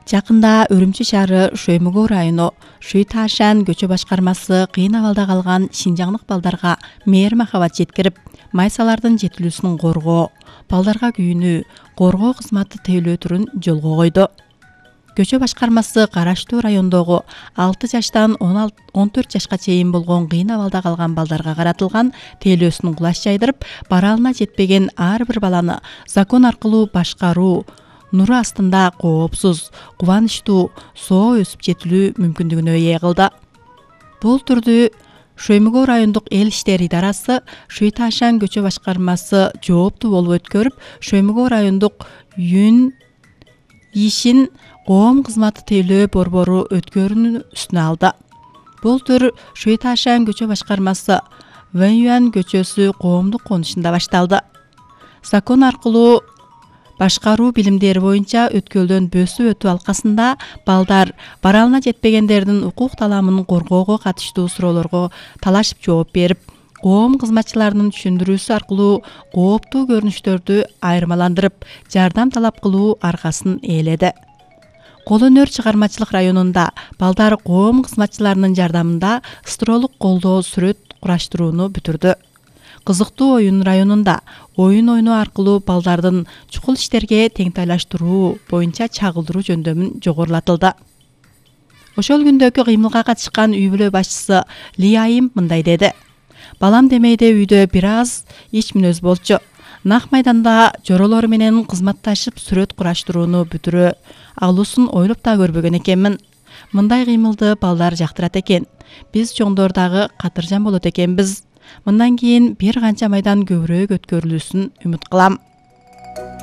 Жакында Өрүмчү шаары Шөймөгөө району Шүй-Ташан көчө башкармасы кыйын абалда калган шинжаңдык балдарга мээр махабат жеткирип, майсалардын жетилүүсүн коргоо, балдарга күйүүнү коргоо кызматы тейлөө түрүн жолго койду. Көчө башкармасы караштуу райондогу 6 жаштан 14 жашка чейин болгон кыйын абалда калган балдарга каратылган тейлөөсүн кулаш жайдырып, баралына жетпеген ар бир баланы закон аркылуу башкаруу нуру астында коопсуз, кубанычтуу соо өсүп жетилүү мүмкүндүгүнө ээ кылды. Бул түрдүү Шөймөгөө райондук эл иштери идарасы Шүй-Ташан көчө башкармасы жооптуу болуп өткөрүп, Шөймөгөө райондук Юн ишин коом кызматы тейлөө борбору өткөрүүнү үстүнө алды. Бул түр Шүй-Ташан көчө башкармасы Вэньюан көчөсү коомдук конушунда башталды. Закон аркылуу башкаруу билимдери боюнча өткөрүлгөн бөсүү өтүү алкасында балдар баралына жетпегендердин укук таламын коргоого катыштуу суроолорго талашып жооп берип, коом кызматчыларынын түшүндүрүүсү аркылуу кооптуу көрүнүштөрдү айырмаландырып, жардам талап кылуу аркасын ээледи. Кол өнөр чыгармачылык районунда балдар коом кызматчыларынын жардамында строолук колдоо сүрөт кураштырууну бүтүрдү. Кызыктуу оюн районунда оюн ойноо аркылуу балдардын чукул иштерге теңтайлаштыруу боюнча чагылдыруу жөндөмүн жогорулатылды. Ошол күндөгү кыймылга катышкан үй бүлө башчысы Ли Айым мындай деди: "Балам демейде үйдө бир аз ич мүнөз болчу. Нак майданда жоролор менен кызматташып сүрөт кураштырууну бүтүрө алуусун ойлоп да көрбөгөн экенмин. Мындай кыймылды балдар жактырат экен. Биз чоңдор дагы катыржан болот экенбиз. Мындан кийин бир канча майдан көбүрөөк өткөрүлүүсүн үмүт кылам".